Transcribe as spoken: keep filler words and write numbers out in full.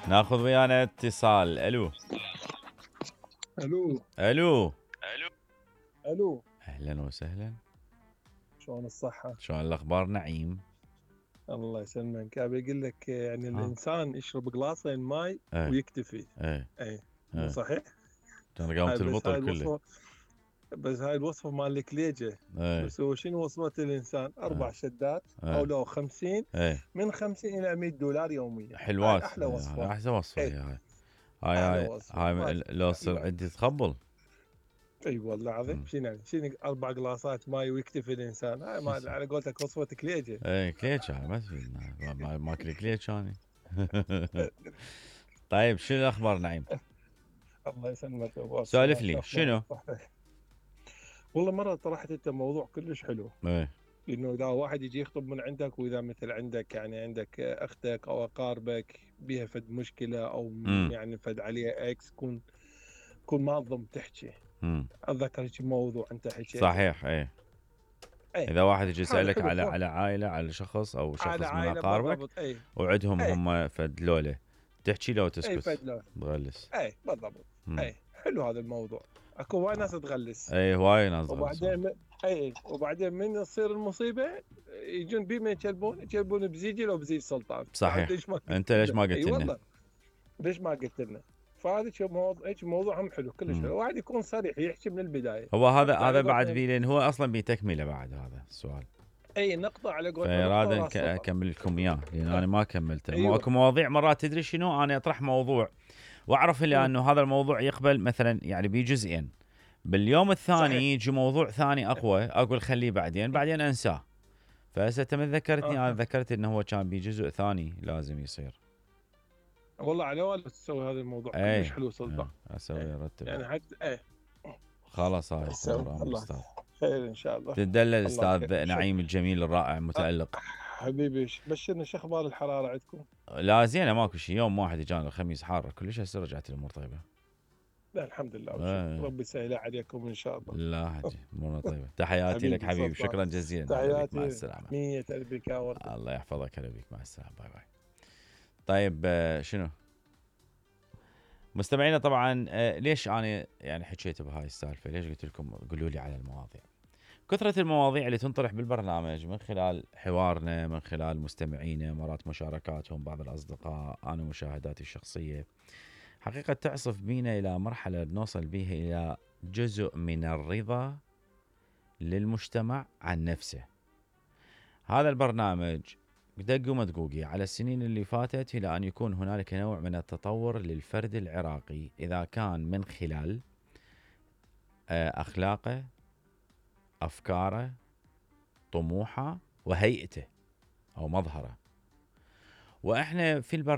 ناخذ ويانا اتصال. الو الو الو الو اهلا وسهلا. شلون الصحة؟ شلون الاخبار نعيم؟ الله يسلمك. ابي اقول لك يعني آه. الانسان يشرب قلاصين ماي ايه ويكتفي. ايه اي مو ايه صحيح؟ كان قامت هاي بس هاي البطل كله. الوصفة بس هاي الوصفة مال الكليجة. ايه بس هو شنو وصفة الانسان؟ اربع ايه شدات او ايه لو خمسين، ايه من خمسين الى مية دولار يوميا. هاي حلوات. احلى ايه هاي وصفة. احسن وصفه. اي هي هاي هاي احلى هاي وصفة هاي ما م- في لو تصير ما عندي تخبل. اي والله العظيم. مم. شنو يعني؟ شنو اربع قلاصات ماي ويكتفي الانسان؟ هاي ما على قولتك وصفة كليجة. ايه كليتش هاي ما تفيد. ما- ما- ماكل كليتش اني. طيب شنو الاخبار نعيم؟ الله يسلمك ابو سولف السلام. شو لي اخبارك؟ شنو؟ صحتك؟ والله مرة طرحت انت موضوع كلش حلو، ايه انه اذا واحد يجي يخطب من عندك، واذا مثل عندك يعني عندك اختك او اقاربك بيها فد مشكلة، او امم يعني فد عليها اكس، كون كون منظم تحكي. امم اتذكر هيك موضوع انت حكيته. صحيح. ايه اي اذا واحد يجي هذا يسالك حلو على خو. على عائله، على شخص او على شخص من عائلة اقاربك بالضبط. اي وعندهم اي هم فد لوله، تحكي له اي وتسكت فد لون. تغلس. اي بالضبط. امم اي حلو هذا الموضوع. اكو وايد ناس تغلس. اي هواي ناس تغلسون. وبعدين م... اي وبعدين من تصير المصيبه يجون بي ما يكلبون يكلبون بزيجي لو بزيج سلطان. فانت صحيح. ليش ما قلت انت ليش لنا؟ ما اي قلت لنا؟ والله ليش ما قلت لنا؟ فهذا شو موضوع، هيك موضوع هم حلو كلش مم. حلو. واحد يكون صريح يحكي من البدايه. هو هذا نقطه على هذا بعد قولتنا. بي، لان هو اصلا بتكمله بعد هذا السؤال. اي نقطه على قولتنا، نقطه فراد وراس نك- سطر. اكمل لكم اياه لان انا ما كملته. مو ايوه. اكو مواضيع مرات تدري شنو، انا اطرح موضوع واعرف الا مم. انه هذا الموضوع يقبل مثلا يعني بجزئين، باليوم صحيح. الثاني يجي موضوع ثاني اقوى اقول خليه بعدين، بعدين انساه. فهسه انت من ذكرتني انا آه. ذكرت انه هو كان بجزء ثاني لازم يصير. والله على ولا تسوي هذا الموضوع كلش اي حلو سلطان. اسوي ارتب يعني حتى ايه خلاص. هاي تسوي. امر امر الله استاذ. خير ان شاء الله. تدلل الله خير. الاستاذ شو نعيم الجميل الرائع المتالق. حبيبي بشرنا، شو اخبار الحراره عندكم؟ لا زينه ماكو شيء. يوم واحد اجانا الخميس حاره كلش، هسه رجعت الامور طيبه. لا الحمد لله آه. وشكر. ربي يسهل عليكم ان شاء الله. لا حجي امورنا طيبه. تحياتي لك حبيبي حبيبي، سلطان. شكرا جزيلا. هلا بك، مع تحياتي السلامه. مية قلبك يا ورد. الله يحفظك. هلا بك، مع السلامه. باي باي. طيب آه، شنو مستمعينا طبعا آه، ليش انا يعني حكيت بهاي السالفه؟ ليش قلت لكم قولوا لي على المواضيع؟ كثرة المواضيع اللي تنطرح بالبرنامج من خلال حوارنا، من خلال مستمعينا، مرات مشاركاتهم بعض الأصدقاء، أنا مشاهداتي الشخصية، حقيقة تعصف بينا إلى مرحلة نوصل بيها إلى جزء من الرضا للمجتمع عن نفسه. هذا البرنامج دق ومدقوقي على السنين اللي فاتت إلى أن يكون هنالك نوع من التطور للفرد العراقي، إذا كان من خلال أخلاقه، أفكاره، طموحه، وهيئته أو مظهره. وإحنا في البرنامج